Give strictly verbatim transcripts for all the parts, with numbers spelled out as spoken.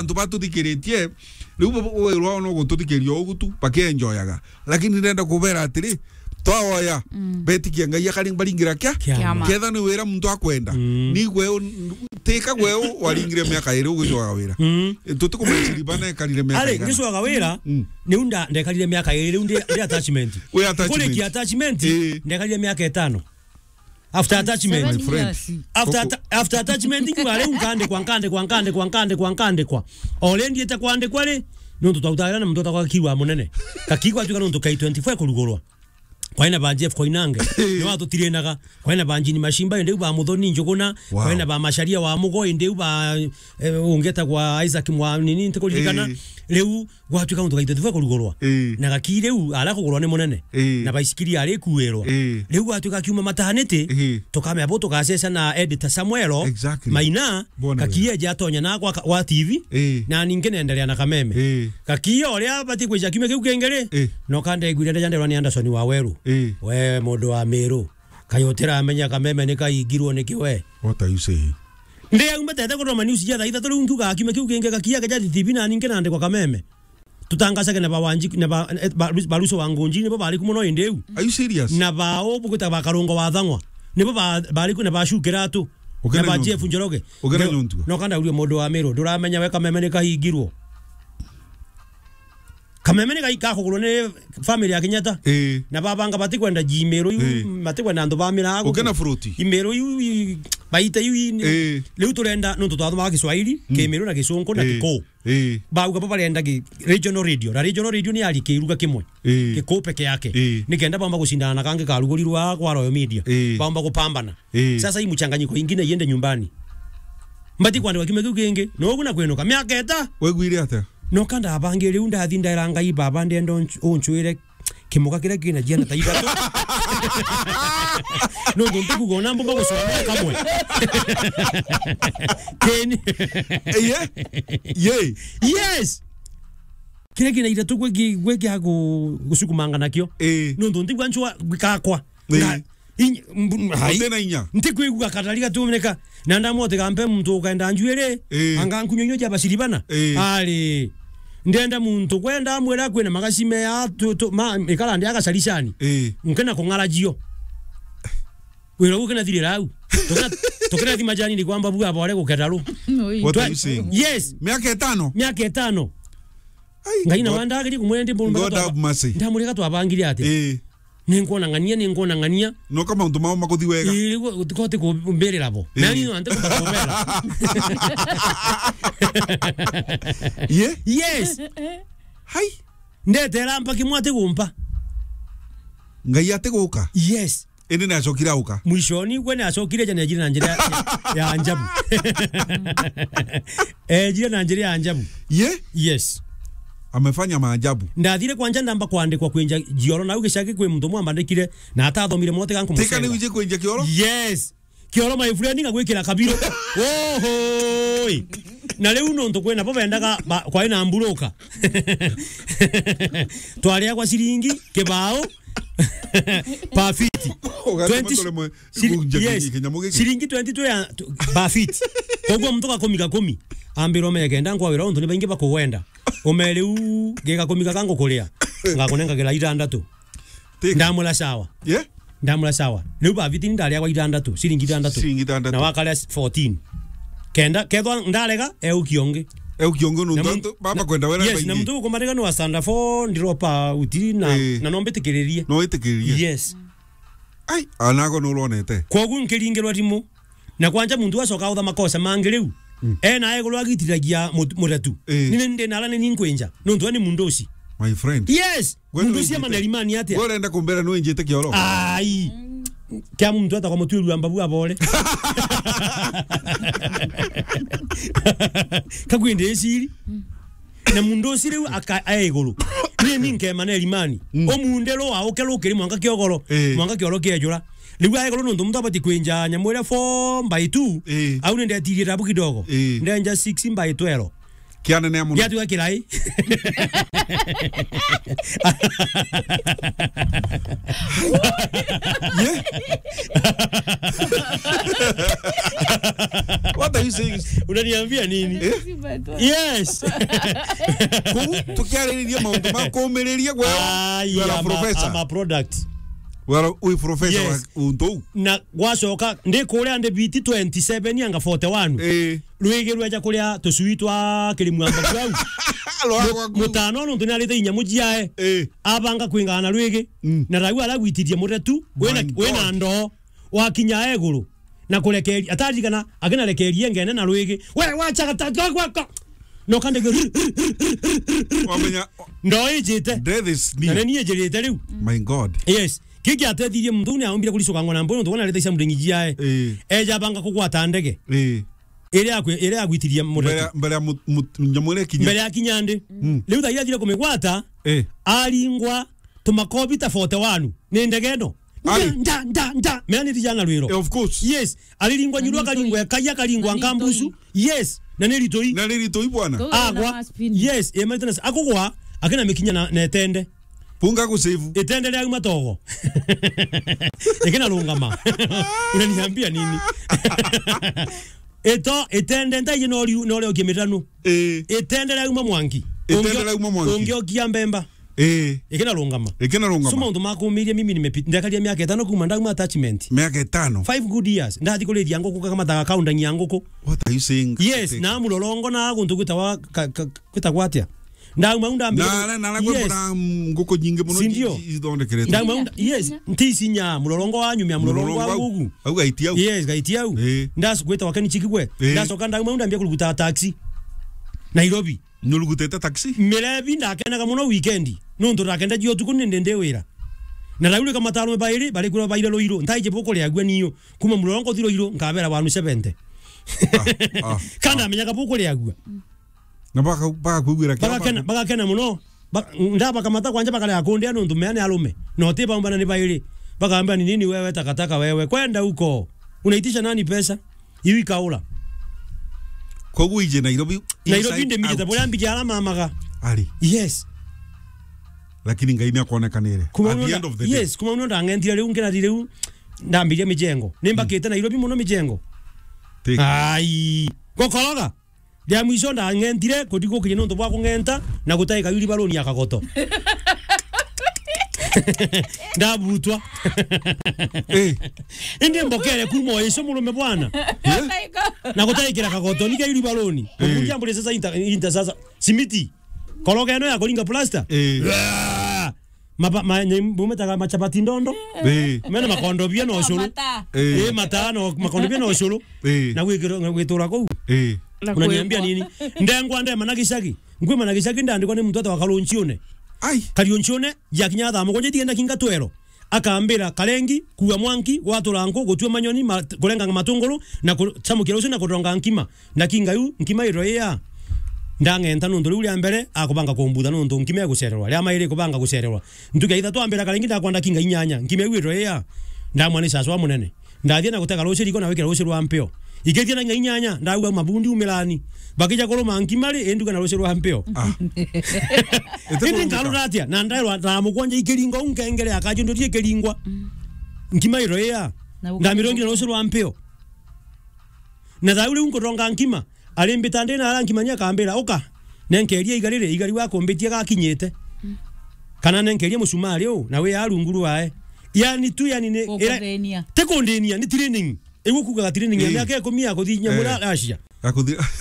antu batuthikiritie, riu bo, bo, wira wao no gututhikiriria ugu tu, bakienjoyaga. Lakini ndenda kubera atiri, twaoya, mm, betikia Ngai akari-, baringira kia? Kiama. Kiama. Ketha ni wira muntu akwenda. Mm. Ni gwe u-, tika gwe u-, waringire miaka iri ugicoaga wira. Mm. E, tutikumenya Siriba na ekarire miaka ari, igana. Ngicoaga wira, mm, niu nda-, ndekarire miaka iri, riu ndi, ndi attachment. Wi attachment. Kurikia attachment, eh, ndekarire miaka itano. After attachment. My friend. Seven years. After atta-, after attachment, ngiuga riu nkandikwa, nkandikwa, nkandikwa, nkandikwa, nkandikwa. O ri ndiite kwandikwa ri, nontu twautagira na muntu etagwa Kakiu wa Munene. Kakiu gwatuika nontu K twenty-four kurugurwa. Kwaina ba Jeff Koinange, ni watutirinaga. Kwaina ba Jean Mashimba, indi u ba Muthoni Njuguna. Wow. Kwaina ba Macharia wa Mugo, indi u ba, eh, ungi etagwa Isaac Mwa-, nini, ntikuririkana. Eh. Riu gwatuika muntu gaitwe tiwe kurugurwa. Ii. Na Gakii riu ara kugurwa ni munene. Ii. Na baisikiri ari kuirwa. Ii. Riu gwatuika akiuma maternity, ii, tukamea bo tugaceca na editor Samuel. Exactly. Maina, bona Gakii wega. Eja atonya na gwa, gwa T V. Ii. Na ningi nendelea na Kameme. Ii. Gakii uria abati kwija kiumia kiu kingi ri, ii, no kande aiguire ndeja nderwa ni Anderson wa Weru. Ii. We mundu wa Miru. Kayo utiramenya Kameme ni kaingirwo ni kiwe. What are you saying? Ndi au mbatete kuthoma news ja thaa ithatu riu nkiuga kiumia kiu kingi Gakii akeja T V na ningi nandikwa Kameme. Tutangacage na ba Wanji-, na ba, eh, ba, ba Ruso wa Ngunji, nibo bari ku mono indi iu. Are you serious? Na ba u bugwita ba Karungo wa Thang'wa, nibo ba, bari ku na ba Shu Kiratu, na ba Jeff Njoroge. Ukena nyontu. No kanda uria mundu wa Miru, nduramenya we Kameme ni kahingirwo. Kameme ni gai-, gakugurwo ni family ya Kenyatta. Ii. Na babanga batikwenda ji Miru iu, ii, batikwenda antu ba Miru. Ukena fruit. I Miru iu, i, baita iu, i, ii, riu turenda, nontu twathomaga Kiswahili, mm, Kimiru na Gisungu na, ii, Gikuu. Ii. Bauga bo barenda gi-, regional radio. Na regional radio ni yari kiruga kimwe. Ii. Gikuu peke yake. Ii. Nikenda baumba gucindana na kangi karugurirwa kwa Royal Media. Ii. Baumba gupambana. Ii. Sasa hii mchanganyiko ingine iende nyumbani. Mbati kwandikwa kiumia kiu kingi. No ugu na kwinuka. Miaka eta. Wegwire atia? No kanda abangi riu ndathi ndaira Ngai, "Baba, ndenda unch-, unchwire kimuka kiria kina ciana ta ithatu." Nontu ntikuga ona mbumba gucomera kamwe. Keni. Ye? Ye? Yes. Kiria kina ithatu gwe ki-, gwe kia gu-, gucukumanga nakio. Ii. Nontu ntigwa nchwa gakwa. Ii. Na, inya, mbu-, hai. Utena inya. Ntikwigua katari gatumeneka. Na ndamwote gampe muntu ukaenda njuiri. Ii. Anga nkunyo inyo ja baciribana. Ii. Ari. Ndenda muntu kwenda amwira kwina magacime ya tu, tu, ma, ikara ndi agacaricani. Ii. Nkena kung'ara jio. Wira ugu kena thirira au. Tukena, tukena thima jani ni kwamba bua bore guketa ru. Oi. What are you saying? Yes. Miaka itano? Miaka itano. Ai, Ngai na God, wanda agiri kumwende mbona God have mercy. Ndamurega twabangire atia? Ii. Ninkwona ng'ania, ninkwona ng'ania. No ka mauntu mao makuthi wega. Ii, riu utikote kumbirira bo. Ii. Nani no ante kumbera. Ye? Yes. Hai. Ndetera mpaki mwate gumpa. Ngai ate guka. Yes. Indi ni acokire auka. Mwishoni, gwe ni acokire ja ni ajire na njira ya, ya, ya ajabu. Ejire na njira ya ajabu. Ye? Yes. Amefanya maajabu. Ndathire kwanja ndamba kwandikwa kwinja jioro, na au gicagi kwi muntu mwambandikire, na atathomire mote ganku. Tika ni wije kwinja kioro? Yes. Kioro, my friend, ngagwikira kabiro. Ohoi. Na riu nontu kwina bo bendaga ba-, kwai na mburuka. Twaria kwa ciringi, kibao, per feet. Ugatuma twenty, tore mwe, siri-, ikunja yes. Kinyi kinyamu giki. Ciringi twenty tu ya, tu, per feet. Koguo muntu gakumi gakumi. Ambira ume kenda nkwawira untu ni baingi bakugwenda. Ume riu, gigakumika kangukuria. Ngakunengagira itandatu. Tika. Ndamwira sawa. Ye? Ndamwira sawa. Riu ba fifteen ndaria kwa itandatu, ciringi itandatu. Ciringi itandatu. Na wakaria fourteen. Kenda, kethwa ndarega, eukia ungi. Eukia ungi nontu na muntu, antu baba na, kwenda wera yes, baingi. Na muntu ukumarega ni wa standard four, ndiropa uti na, eh, na no mbitikiririe. No witikiririe. Yes. Ai, anago no uronete. Koguo nkiringirwa thimu. Na kwanja muntu acoka utha makosa mangi riu. Mm. Ena iguru agitiragia mut-, muretu. Eh. Nini ndi nara ni ninkwinja. Nontu we ni mundu uci. My friend. Yes. Gwe mundu uci ndoigite. Amana rimani atia? Gwe urenda kumbera ni winjite kioro? Ai. Kia muntu atagwa mutwiru wa mbabu abore. Kakwende iciri. Na mundu uci riu aka-, ae iguru. Ni ni nkemana rimani. Mm. Omunde ro auke rukiri mwanka kiogoro. Eh. Mwanka kioro kiejura. Riu ae iguru nontu muntu abati kwinja nyamu iria four by two. Eh. Au ni ndetirie tabu kidogo. Eh. Ndenja six by twelve. Kianene ya muno. Giatuga kirai. Yeah. What are you saying? Unaniambia nini? Eh? Yes. Kuu, tukiaririria maundu ma kuumiriria, we, ai, you are a, I'm a, professor. I'm a product. We are a, we professor. Yes. Wa untu uu. Na gwacoka, ndi kuria ndi biti twenty-seven anga forty-one. Eh. Rwigi rweja kuria tucui twa kiri mwamba kwau. Rwagwa kuu. Mutano nontu ni arite inyamu ciae. Eh. Abanga kwingana na rwigi. Mm. Na rau aragwitirie muretu, wina, my God, wina ndoo. Wakinya iguru. Na kurekeria, ataririkana, akinarekeria ngene na rwigi. We, wacha gata-, gwa-, gwa-, gwa-. No kande ge-, wamenya, ndoo ijite. Death is near. Na ni ijirite riu. My God. Yes. Kiki atethirie muntu ni aumbire kuricoka ngona mbono, tuona rita cia muringi jiae. Eh. Eja banga kugwata ndege. Eh. Ire akwe, ire agwitirie muretu. Mbere, mbere ya mut-, mut-, nyamu iria ikinya. Mbere ya kinya ndi. Mm. Riu thaira athire kumigwata, eh, aringwa tumakobi ta forty-one. Ni ndege ino. Ai. Nda, nda, nda, nda. Mea ni rijana rwiro. Eh, of course. Yes. Ariringwa nyuru, na ni akaringwa itoi, ekaia, akaringwa na ni nkambusu. Itoi. Yes. Na ni ritoi. Na ni ritoi bwana. Agwa. Yes, e maintenance. Akugwa, akina mikinya na, na etende. Punga ku save. Itende ria uma togo. Ikina rungama. Unaniambia nini? Ito, itende ntaije no riu, no rio kimitanu. Eh. Itende ria uma mwangi. Itende ria uma mwangi. Ungiokia mbemba. Eh. Ikina rungama. Ikina rungama. So maundu makumirie mimi nimepita, ndekaria miaka itano kuma ndauma attachment. Miaka itano? Five good years. Ndathi kuriria nguku kama ta kaundangi ya nguku. What are you saying? Yes, na mulorongo na guntu gwitagwa ka-, ka-, gwitagwa atia? Ndauma u ndambire. Na ara, na ara, yes, kwina nguku nyingi muno. Sindio? Ithondekeretwe. Ndauma u nda-, yes, nti isinya, mulorongo wa nyumia, mulorongo wa nguku. Au gaiti au. Yes, gaiti au. Eh. Ndasu gwita wakeni chikigwe. Eh. Ndacoka ndauma u ndambia kuruguta taxi. Nairobi. Nurugutete taxi? Mirebi ndakenaga muno weekend. Nontu ndakenda jio tuku ni ndi ndi wira. Na raurika mataro bairi, bari kura baire Ruiru. Ntaije bukuriagua niyo. Kuma mulorongo thi Ruiru, nkabera wanu seventy. Ah, ah, kanda ah. Amenyaga bukuriagua. Na baka-, bagakwigwira kiao. Bagakena, bagakena muno. Ba-, ndabakamata kwanja bakarega kundia nontu mea ni arume. Na uti baumbana ni bairi. Bakamba, "Ni nini wewe takataka wewe? Kwenda huko. Unaitisha nani pesa?" Iu ikaura. Koguo ije Nairobi. Nairobi inside ndi mbijite out. Buria mbiji ara mamaga. Ari. Yes. Lakini Ngai ni akwonekanire. At the end of the day. Yes, kuma uno ndang'entire riu, nkirari riu, ndambiria mijengo. Nimbakite Nairobi muno mijengo. Take. Ai. Gokoroga. Ria mwico ndang'entire, kutigukinya nontu bwa kung'enta, na gutaika yuri baroni ya kagoto. Ndabutwa. Eh. Indi mbokere kuma o icio murume bwana. Eh? Na gutaikira kagoto, nika yuri baroni. Eh. Kukunja mburi sasa inta, inta sasa. Simiti. Koroga ino ya kuringa plaster. Eh. Maba-, ma-, nye-, bumetaga machapati ndondo. Eh. Mena makondobia na ucuru. Mata. Eh. Eh, mata na makondobia na ucuru. Eh. Na gwikirwo, na gwitura kuu. Eh. Na unaniambia kwigwa nini? Ndengwa ndema na gicagi. Ngwima na gicagi ndandikwa ni muntu atawa Karunchiune. Ai. Kariunchiune, yakinya thaa mugwanja itienda kinga twero. Akambira, "Karengi, kua mwanki, gwatura nku, gutua manyoni, ma-, kurenganga matunguru, na ku-, chamukira ucio na kuronga nkima." Ndakinga iu, nkima iro iya. Ndang'enta nontu riu ria mbere, akubanga kumbutha nontu nkima igucererwa. Ria mairi ikubanga gucererwa. Ntuku ya ithatu ambira karingi ndakwenda kinga inyanya. Nkima iu iro iya. Ndamwa ni caca wa munene. Ndathie na gutega ruci riko na wikira ruci rwa mpeo. Ikithia na inyanya, ndauga mabundi umirani. Bakija kuruma nkima ri, induga na ruci rwa mpeo. Ah. Indi nkarura atia? Na ndairwa ta mugwanja ikiringo, u nkengere akajunduria ikiringwa. Nkima iro iya. Ndamirongi na ruci rwa mpeo. Na thau riu nkuronga nkima, arimbita ndi na ara nkima ni akambira, "Uka, nenkeria igari ri, igari wakumbitie gakinyite." Kana nenkeria musumari u, na wi a rungu rwae. Yani tu, yani ni, ira-, ti kundinia, ni training. Igu kugaga training ya miaka ikumi ya kuthi nyamura Russia.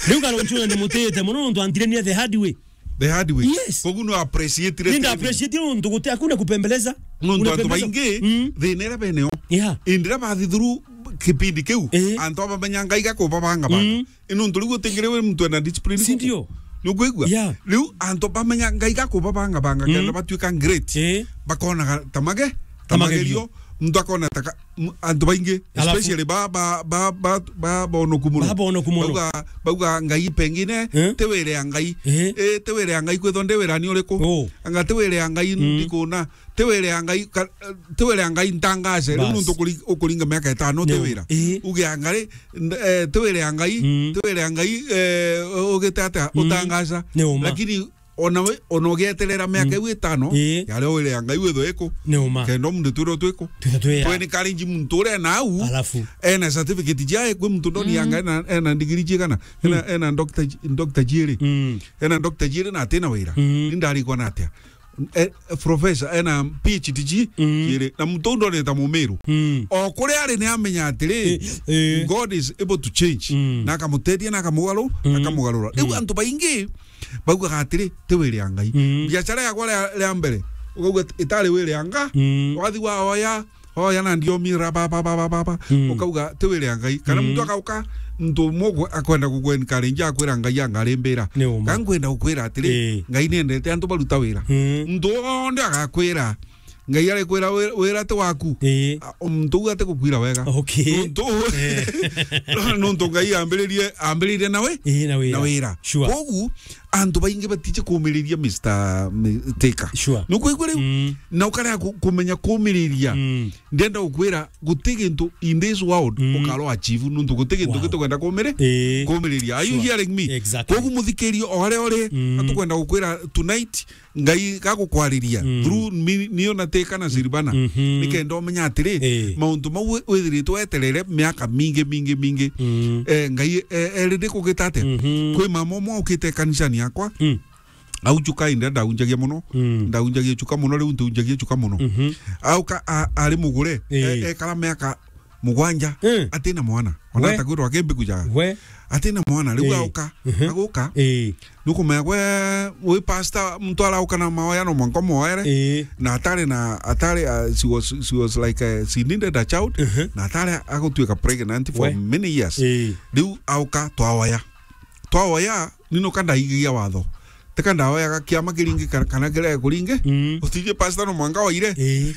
Riu Karunchiune ndimutite muno nontu antirenia the hard way. The hard way. Yes. Koguo no appreciate. Ninda appreciate nontu guti, hakuna kupembeleza. Nontu antu baingi, thina iria beneo. Yeah. Indira bathi through kipindi kiu, antu abamenya Ngai gakubabanga banga. Nontu riu utingire wi muntu ena discipline. Sindio? Nukwigua? Yeah. Riu antu bamenya Ngai gakubabanga banga, kenda batuika great. Eh. Bakonaga ta mage-, ta magerio. muntu akona taka, m-, antu baingi, alafu especially ba, ba, ba, ba, ba, bonoku muno. Ba bonoku muno. Bauga, bauga Ngai pengine, eh? Ti wira ya Ngai. Eh? Eh, ti wira ya Ngai, kwithwa ndi wirani uriku? Oh. Anga ti wira ya Ngai, mm, ndikuna. Ti wira ya Ngai, ka-, ti wira ya Ngai ntangace. Riu, bas, nuntu ukuri-, ukuringa miaka itano, ti wira. Eh. Uge anga ri, nd-, eh, ti wira ya Ngai, mm, ti wira ya Ngai, eh, ugite atia, mm, utangaca. Ni uma. Lakini ona we, ona ugeterera miaka, mm, iu itano, ii, yaria wira ya Ngai withwe iku. Ni uma. Kenda muntu twirwe twiku. Twithwe twi a. Twe encourage muntu uria nau, alafu, ena certificate ciae, kwi muntu ndoni ya, mm, Ngai ena, ena ndigiri cigana? Ena, mm, ena doctor, doctor ciiri. Mm. Ena doctor ciiri na atina wira. Mm. Ni ndarikwa na atia? Eh, professor, ena P H D ci-, mm, ciiri. Na muntu ndoni ta mumiru. Mm. O kuria ari ni amenya atiri, eh, eh, God is able to change. Mm. Na akamuteithia, na akamugaru-, mm, akamugarura. Riu, mm, antu baingi baugaga atiri, ti wira ya Ngai. Mm. Biashara yakwa ria, ria mbere, ukauga ati, itari wira ya Nga. Mm. Wathi waoya, oya na ndiomi ra ba, ba, ba, ba, ba, ba. Mm. Ukauga, ti wira ya Ngai. Kana, mm, muntu akauka, muntu umwe akwenda guku encourage, akwira Ngai angarimbira. Ni uma. Ka nkwenda gukwira atiri, eh, Ngai niendete antu baruta wira. Mm. Muntu wonthe agakwira, Ngai arikwira wi-, wira ti waku. Ii. A, muntu uu atigukwira wega. Okay. Nuntu, eh, nuntu Ngai ambiririe, ambiririe na wi-, ii, na wira. Na wira. Sure. Kogu, antu baingi batiji kumiriria, Mister Mi-, Tika. Sure. Nukwigua riu? Mm. Na ukarega ku-, kumenya kumiriria. Mm. Ndienda gukwira, guti gintu in this world, mm, ukarwa achieve, nuntu guti gintu, wow, gitukwenda kumiri-, ii, kumiriria. Are you, sure, hearing me? Exactly. Kogu muthikiria o aria uri, mm, atukwenda gukwira tonight, Ngai gagukwariria, mm, through mi-, nio na Tika na Silvana. Mhm. Nikenda umenya atiri, eh, mauntu mau wi-, withiritwe weterere miaka mingi, mingi, mingi. Mm. Eh, Ngai, eh, erire kugita atia? Mhm. Kwi mama umwe ukite kanisani yakwa. Mm. Au chuka inde ndaunjagia muno. Mm. Ndaunjagia chuka muno, riu ntiunjagia chuka muno. Mhm. Auka a-, ari mugure, eh, e-, ekara miaka mugwanja, eh, atina mwana. Ona, we, atakwirwa akimbi kujaga. We. Atina mwana, riu, eh, auka, mhm, aguka. Eh. Nukumenya gwe, wi pastor, muntu arauka na maoya no mwanka moere. Eh. Na atari na, atari, uh, she was, she was like, uh, she needed a child. Mhm. Na atari agutwika pregnant for, we, many years. Eh. Riu auka twaoya. Twaoya, ni nuka ndaigigia watho. Tika ndaoyaga kiama kiringi kana, kana kirege kuringi. Mm. Utiji pastor no mwanka waire. Eh.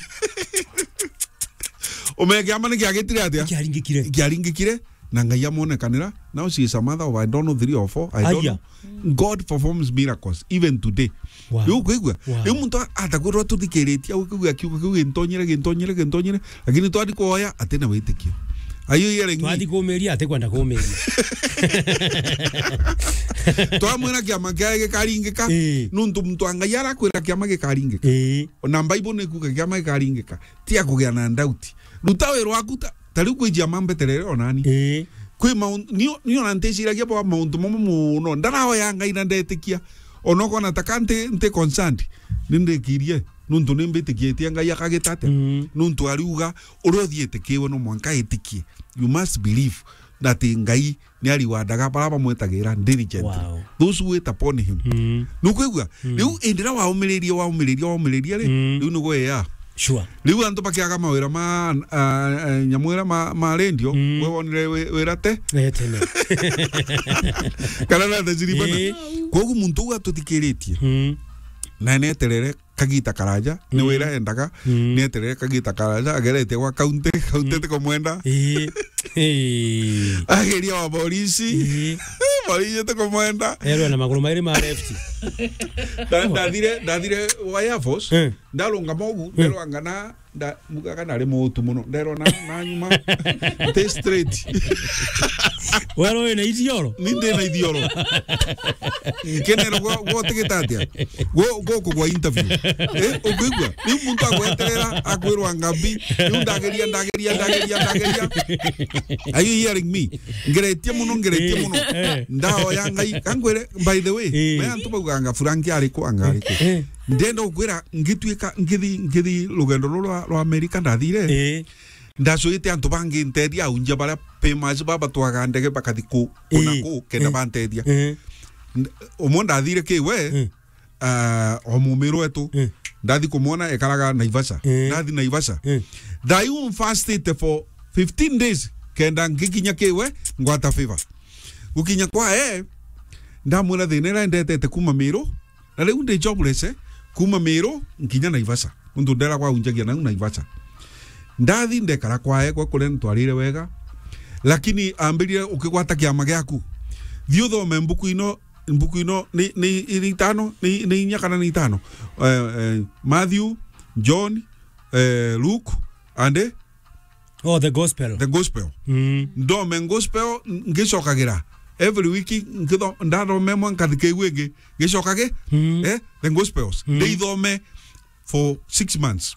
Umenye kiama ni kiagitire atia? Kiaringikire. Kiaringikire, na Ngai amonekanira. Now she is a mother of, I don't know, three or four. I don't, aya, know. God performs miracles even today. Wow. Riu ukwigua? Wow. Riu muntu a-, atakwirwa tuthikiritie, au kiuga kiuga kiu gintonyere, gintonyere, gintonyere. Lakini twathi kuoya, atina witikio. Are you hearing me? Twathi kumiria, atikwenda kumiria. Twamwira kiama kiae gikaringika, ii, nuntu muntu wa Ngai arakwira kiama gikaringika. Ii. Ona Bible nikuga kiama gikaringika. Ti akugia na doubt. Ruta wira waku ta, ta riu kwi ciama mbeterere onani. Ii. Kwi maun-, nio, nio na nteciragia bwa mauntu mamwe muno. Ndaraoya Ngai na ndetikia. Ona ukona ta ka nti, nti concerned, ni ndikirie. Nuntu ni mbitikitie Ngai akagita atia? Mm. Nuntu ariuga, uria uthiite kiwe no mwanka itikie. You must believe that Ngai ni ariwandaga bara bamwetagira diligently. Wow. Those who wait upon him. Mm. Nukwigua? Mm. Riu indira waumiririe, waumiririe, waumiririe ri, mm, riu nigwe ya. Sure. Riu antu bakiaga mawira ma, ah, ah, nyamwira ma, ma radio, mm, we wonire wi-, wira te? Eh, tene. Kana na tajiriba na. Eh. Kogu muntu uu atuthikiritie. Mm. Na neterere kagita karaja, ni, mm, wira endaga, mm, neterere kagita karaja, agerete gwa kaunti, kaunti, mm, tikumwenda. Ii. Ii. Ageria wa borisi. Ii. Borisi tikumwenda. Erwe na maguru mairi ma left. Nda-, ndathire, ndathire wa Air Force, eh, ndarungama ugu, eh, nderwa ngana, nda-, mugaga nari mutu muno. Nderwa na, na nyuma. Stay straight. Werwa wina ithioro? Ni ndi na ithioro. Nkenera gwa, gwa utigita atia? Gwa, gwa kugwa interview. Eh, ukwigua? Riu muntu agweterera, akwirwa ngambi. Riu ndageria, ndageria, ndageria, ndageria. Are you hearing me? Ngeretie muno, ngeretie, eh, muno. Eh. Ndaoya Ngai. Kangwire, by the way, eh, maya antu baugaga Frank ari ku, anga ari ku. Eh. Ndenda gukwira, ngituika, ngithi, ngithi rugendo ruru rwa, rwa Amerika ndathire. Eh. Ndacuite antu bangi nteethia aunjia baria famous baba twaga ndege bakathi ku, kuna, ii, ku, kenda, ii, banteethia. Ii. N-, umwe ndathire kiwe, ii, ah, o mumiru wetu. Ii. Ndathi kumwona ekaraga Naivasha. Ii. Ndathi Naivasha. Ii. Thaa iu mfastite for fifteen days, kenda ngikinya kiwe, ngwata favor. Gukinya kwa e, ndamwira thina iria ndetete kuma Miru, na riu ndi jobless, eh, kuma Miru nkinya Naivasha. Nuntu nderagwa aunjagia nau Naivasha. Ndathi ndekara kwae, gwe kuria ntwarire wega. Lakini ambirire ukigwata kiama giaku. Thi uthome mbuku ino, mbuku ino ni, ni, ni itano, ni, ni inya kana ni itano. Eh, eh, Matthew, John, eh, Luke, and, eh, Oh, the gospel. The gospel. Mm. Ndome gospel, ngicokagira. Every week, nkitho-, ndathome mwa nkathika iu ingi, ngicokage, Mm. eh, the gospels. Mm. Ndithome for six months.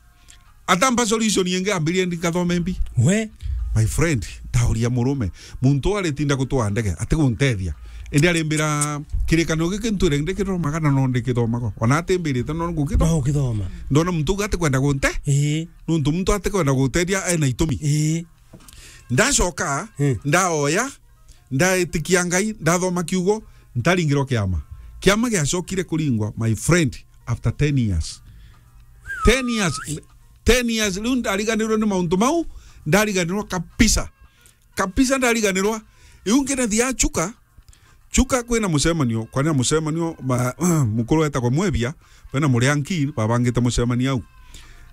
Atamba solution ingi ambirie ndikathome mbi. We? My friend, ndauria murume. Muntu aritinda gutwaa ndege, atigunteethia. Indi arimbira kirikaniro giki ntwire ndikithomaga na no ndikithomaga. Ona atimbirite no ngukithoma. No ukithoma. Ndona muntu uga atikwenda gunte. Ii. Nuntu muntu atikwenda guteethia ena itumi. Ii. Ndacoka, Hmm. ndaoya, ndaitikia Ngai, ndathoma kiugo, ntaringirwa kiama. Kiama giacokire kuringwa, my friend, after ten years. Ten years, ten years, riu ndariganirwa ni mauntu mau, ndariganirwa kabisa. Kabisa ndariganirwa. Riu nginathiaga Chuka, Chuka kwina mucemanio, kwina mucemanio, ma-, mukuru wetagwa Mwebia, bena Murianki, babangite mucemanio au.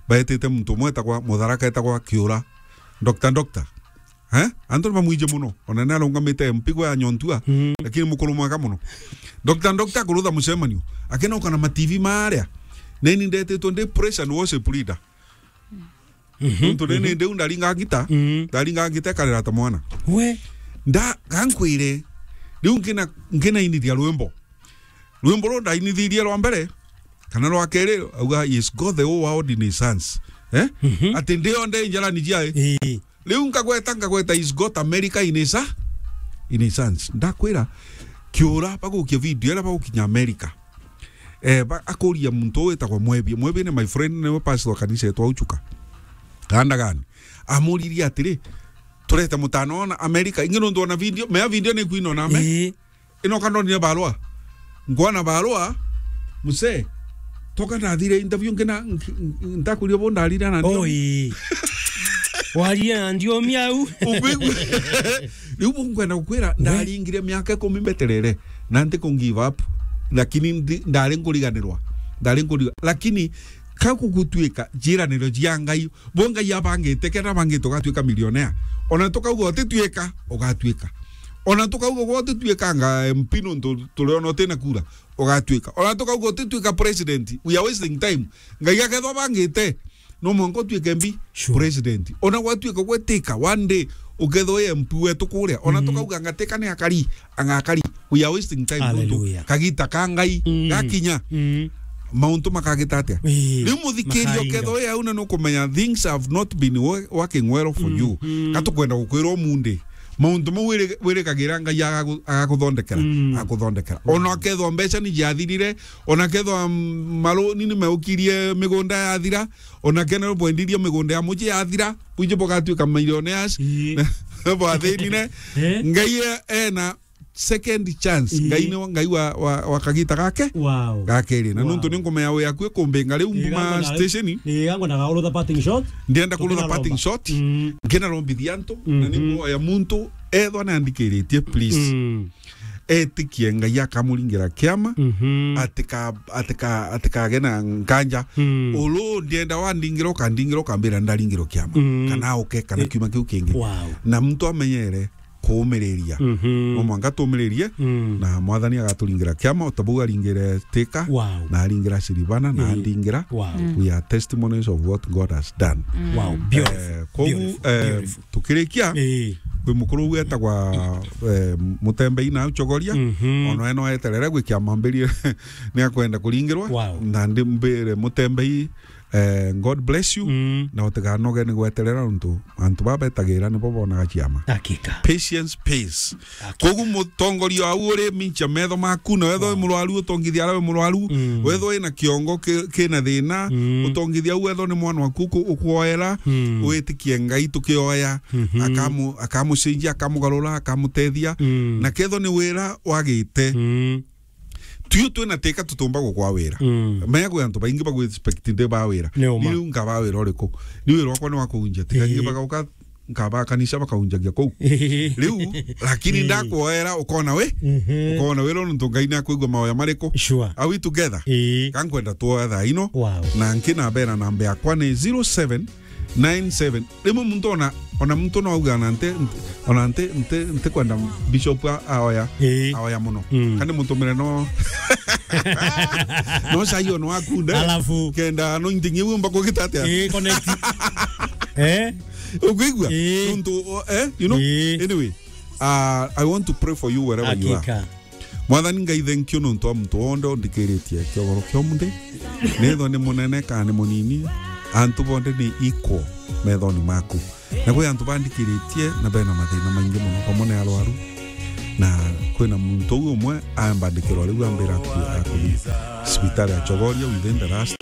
Baetite muntu umwe etagwa Mutharaka, etagwa Kiura. Doctor, doctor. Eh? Antu ni bamwiji muno. Ona ni arungamite M P gwe anyontua, Mm. lakini mukuru mwega muno. Doctor, doctor akurutha mucemanio. Akinoka na ma T V maria. Neni ndetitwe ndi praise and worship leader. Mhm, Nuntu nini mhm. Ndiu ndaringa ngita, Mhm. ndaringa ngita ikarira ta mwana. We. Nda, gankwire, riu nkina, nkinainithia rwimbo. Rwimbo ruu ndainithirie rwa mbere, kana rwa keri, auga, "He's got the whole world in his hands." Eh? Mhm. Ati ndio nde njarani ciae. Ii. Riu nkagweta, nkagweta, "He's got America in his ha-, in his hands." Ndakwira, Kiura, bagukia video iria bagukinya America. Eh, ba-, akuria muntu witagwa Mwebi. Mwebi ni my friend, niwe pastor wa kanisa yetu au Chuka. Ganda gani? Amuririe atiri, "Turete mutano ona America." Ingi nuntu ona video, mea video ni kwino na me. Ii. Ino kandonire barua. Ngwana barua, muse, toka ndathire interview ngina, nk-, nk-, ntakuria bo ndarire na ndio. Oi. Waria na ndiomi au. Ukwigua? Riu bu nkwenda gukwira, We. ndaringire miaka ikumi mbeterere, na ntiku give up, lakini ndi-, ndari nkuriganirwa, ndari nkuriga-, lakini ka gugutuika njiraniro cia Ngai, bo Ngai abangite, kenda abangite ugatuika millionaire. Ona tukauga utituika, ugatuika. Ona tukauga gwe utituikanga M P nuntu turiona utina kura, ugatuika. Ona tukauga utituika president, we are wasting time. Ngai akethwa abangite, no mwanka utuike mbi Sure. president. Ona gwatuika gwetika, one day, ukethwa wi M P wetu kuria. Ona Mhm. tukauga ngatika ni akari, angakari. We are wasting time. Hallelujah. Nuntu kagita ka Ngai, Mm. gakinya. Mm. Mauntu makagita atia? Ii, Riu muthikiria makainga. Ukethwa wi au na nukumenya things have not been wo-, working well for Mm, you. Mm. Gatukwenda gukwira umundi. Mauntu mau wiri-, wirikagira Ngai agagu-, agakuthondekera, Mm. agakuthondekera. Ona ukethwa mbeca ni ciathirire, ona kethwa, mm, maruni ni meukirie migunda yathira, ona kena bwendirie migunda ya muji yathira, buji bugatuika millionaires, Ii. bwathinine. Eh? Ngai e-, ena second chance. Ii. Ngai ni Ngai wa, wa, wa kagita gake. Wow. Gakeri. Na Wow. nuntu ni ngoma ya we akue kumbinga riu Ii, mbuma gango na, station. Ii, gango na gaurutha parting shot. Ndienda kurutha Tukina parting romba. Shot. Mm. Ngina rombithia antu, na Mhm. ni nguoya muntu ethwa nandikiritie, please. Mm. Etikie Ngai akamuringira kiama, Mhm. atika-, atika-, atikage na nkanja. Mm. Ulu ndienda wandingira, ukandingira, ukambira ndaringirwa kiama. Mm. Kana uke, kana Eh. kiuma kiu kingi. Wow. Na muntu amenyere kuumiriria. Mhm. No mwanka tuumiririe, Mm. na Mwathani agaturingira kiama, o ta bau aringire Thika, Wow. na aringira Siribana, na Mm. andingira. Wow. Mm. We are testimonies of what God has done. Wow, beautiful. Eh, kogu, Beautiful. eh, Beautiful. Tukirikia, Ii. kwi mukuru uu etagwa, eh, Mutembei na Uchogoria, Mhm. ona we no eterere gwikia mambiri ni akwenda kuringirwa. Wow. Na ndi mbire Mutembei, eh, God bless you. Mm. Na utiganoge ni gweterera, untu antu baba betagira nibo bonaga ciama. Hakika. Patience pays. Hakika. Kogu mutongoria au uri mincha metho maku, na wethwa wi Wow. murwaru, utongithia aria wi murwaru, Mm. wethwa wina kiongo ki-, kina thina, Mm. utongithia au, wethwa ni mwana waku ku-, ukwoera, Mm. witikie Ngai tukioya, Mhm. akamu-, akamucenjia, akamugarura, akamutethia, Mm. na kethwa ni wira wagite, Mm. Tio twina Thika tutumba gukwa wira. Mm. Menya kwi antu baingi bagu expect ndi ba wira. Ni uma. Ni riu nkaba wira uriku? Ni wira wakwa ni wa kuunjia Thika. Ii. Ingi bagauka nkaba kanisa bakaunjagia kuu. Riu, lakini Ii. ndakwoera ukona we, Mhm. ukona wira nuntu Ngai ni akwigua maoya mariku. Sure. Are we together? Ii. Ka nkwenda twoya thaa ino. Wow. Na nki nabera namba yakwa ni zero seven nine seven. Rimwe muntu ona, ona muntu no auga na nte, nte, ona nte, nte, nte kwenda bishop a-, aoya, Ii. aoya muno. Mm. Kani mutumire no, no cai ono wakunde. Alafu. Kenda anointing iu mba kugita atia? Ii, connect. Eh? Ukwigua? Ii. Nuntu, o, eh, you know? Ii. Anyway, uh, I want to pray for you wherever you are. Hakika. Mwathani Ngai, thank you nontu wa muntu wonthe undikiritie kiogoro kia umunthi. Nithwa ni munene kana ni munini, antu bonthe ni equal methoni maku. Na kwi antu bandikiritie na bena mathina maingi muno, pamwe ni arwaru. Na kwina muntu uu umwe ambandikirwa riu ambira aku-, akuthi cibitari ya Chogoria within the last